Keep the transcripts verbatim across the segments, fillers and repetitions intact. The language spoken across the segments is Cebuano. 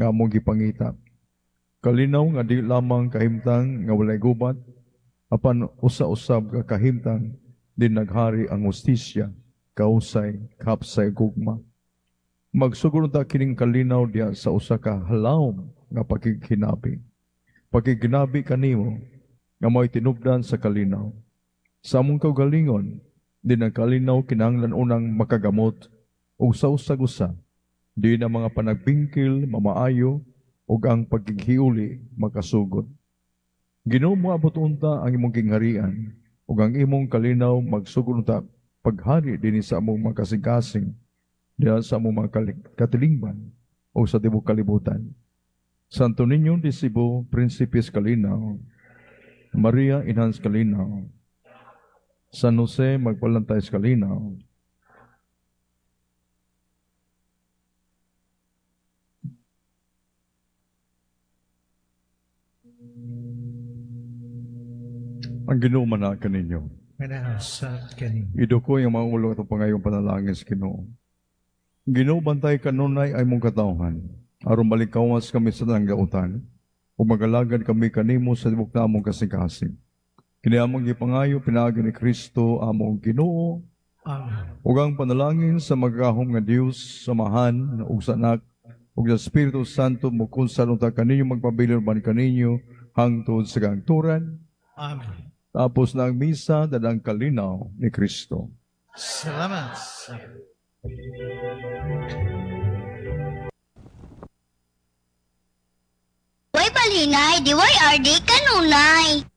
nga among gipangita. Kalinaw nga di lamang kahimtang nga walay gubat, apan usa-usab ka kahimtang din naghari ang hustisya, kausay, kapsay, gugma. Magsugod ta kining kalinaw diha sa usa ka halawom nga pakigkinabi. Pakigkinabi kanimo nga mao'y tinubdan sa kalinaw. Sa among kaugalingon, din ang kalinaw kinahanglan unang makagamot ug sa usag-usa, di na mga panagbingkil mamaayo ug ang pagkighiuli makasugod. Ginoo moabot unta ang imong gingharian ug ang imong kalinaw magsugod unta paghari dinhi sa among mga kasing-kasing diha sa among mga katilingban o sa tibuok kalibutan. Santo Niño de Cebu, Prinsipe sa Kalinaw, Maria Inhan sa Kalinaw, San Jose magpalantay sa Kalinaw, Ang Ginoo man kaninyo. Manahasat kaninyo. Iduko yung mga ulo at pangayong panalangin sa Ginoo. Ginoo bantay kanunay ay mong katawhan. Aron malikawas kami sa tanggautan ug magalagad kami kanimo sa tibuok namong kasing-kasing. Kini among gipangayo pinaagi ni Kristo among Ginoo. Amen. Ug ang panalangin sa magagahom nga Dios, Samahan ug sa Anak ug sa Espiritu Santo mokunsal unta kaninyo magpabilin uban kaninyo hangtod sa kangturan. Amen. Tapos na ang misa dadang kalinaw ni Kristo. Salamat. Way balinay, di way R D kanunay.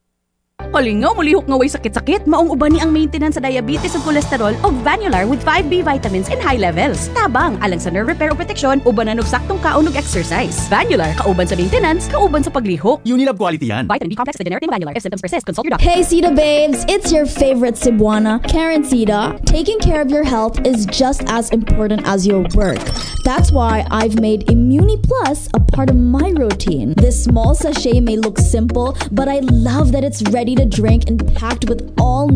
Kalingaw, mulihok nga way sakit-sakit. Maong uban ni ang maintenance sa diabetes ug kolesterol og Vanular with five B vitamins in high levels. Tabang, alang sa nerve repair o protection, ubanan og saktong kaon ug exercise. Vanular, kauban sa maintenance, kauban sa paglihok. Unilab quality yan. Vitamin B complex, the generic name of Vanular. If symptoms persist, consult your doctor. Hey, Sita babes, it's your favorite Cebuana, Karen Sita. Taking care of your health is just as important as your work. That's why I've made Immuni Plus a part of my routine. This small sachet may look simple, but I love that it's ready to drink and packed with all